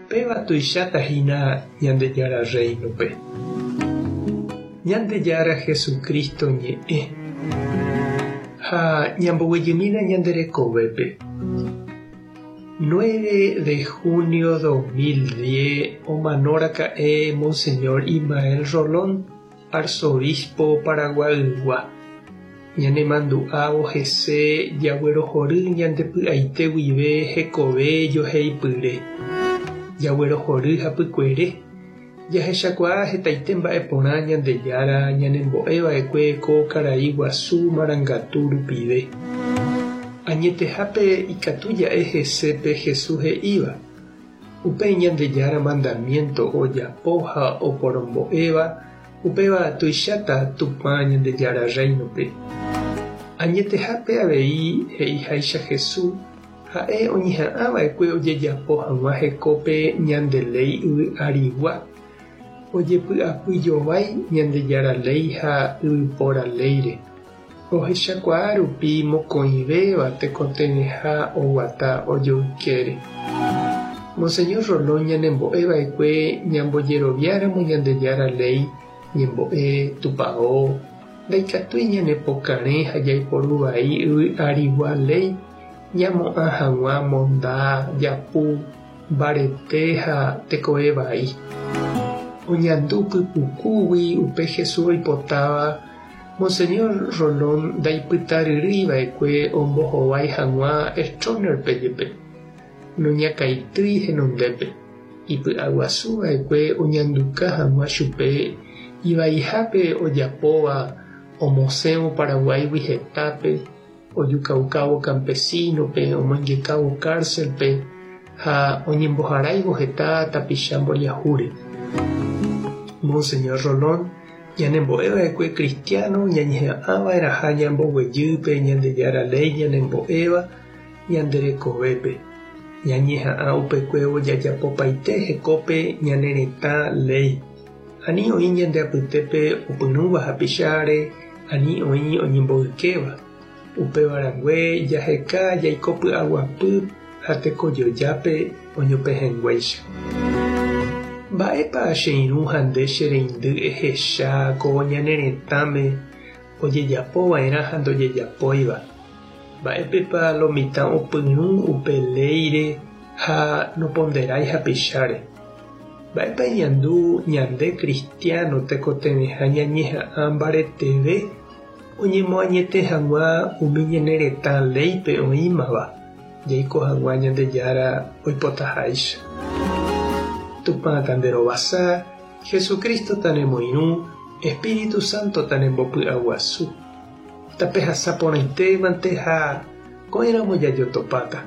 Péva tuicháta hína Ñandejára Rréinope. Ñandejára Jesucristo ñe'ẽ. Ha ñamboguejymína ñande rekovépe. 9 de junio 2010 omanoraka'e Monseñor Ismael Rolón, arzobispo Paraguaygua. Ñanemandu'ávo hese jaguerohory ñande py'aite guive hekove joheipyre. Jaguerohory hapykuere. Jahechakuaa hetaite mba'e porã Ñandejára ñanembo'e va'ekue ko karai guasu marangatu rupive. Añetehápe ikatu ja'e hese pe Jesús he'íva, Upe Ñandejára mandamiénto ojapo ha oporombo'éva, upéva tuicháta Tupã Ñandejára Rréinope. Añetehápe avei he'iháicha Jesús, ha'e oñeha'ã va'ekue ojejapo hag̃ua hekópe ñande léi yvy arigua, ojepy'apy jovái Ñandejára léi ha yvypóra léire. Ohechakuaa rupi mokõivéva tekotevẽha oguata ojoykére. Monseñor Rolón ñanembo'e va'ekue ñambojeroviáramo Ñandejára léi, ñembo'e, tupao, ndaikatúi ñanepokarẽ ha jaiporu vai yvy arigua léi ñamo'ã hag̃ua monda, japu, mbarete ha tekove vai. Oñandu pypukúgui upe Jesús oipotáva Monseñor Rolón ndaipytaryrýi va'ekue ombohovái hag̃ua Stroessner-pe jepe, noñakãitýi henondépe. Ipy'aguasu va'ekue oñanduka hag̃ua chupe ivaihápe ojapóva omosẽvo Paraguáigui hetápe, ojukaukávo campesino-pe, omoingekávo cárcel-pe ha oñemboharáivo heta tapicha mboriahúre. Monseñor Rolón Ñanembo'e va'ekue kristiáno ñañeha'ã va'erãha ñamboguejy pe Ñandejára léi ñanembo'éva ñande rekovépe. Ñañeha'ã upekuévo jajapopaite hekópe ñane retã léi. Ani oĩ ñande apytépe opyrũva hapicháre, ani oĩ oñemboykéva. Upéva rangue jaheka jaiko py'aguapy ha tekojojápe oñopehẽnguéicha. Mba'épa che irũ ha nde che reindy ehecha ko ñane retãme ojejapo va'erã ha ndojejapóiva? Mba'épepa lo mitã opyrũ upe léire ha noponderái hapicháre? Mba'épa eñandu ñande kristiáno tekotevẽha ñañeha'ã mbareteve oñemoañete hag̃ua umi ñane retã léipe oĩmava? Jaiko hag̃ua Ñandejára oipotaháicha. Tupã tanderovasa, Jesucristo tanemoirũ, Espíritu Santo tanembopy'aguasu. Tapehasa porãitémante ha ko'ẽramo jajotopáta.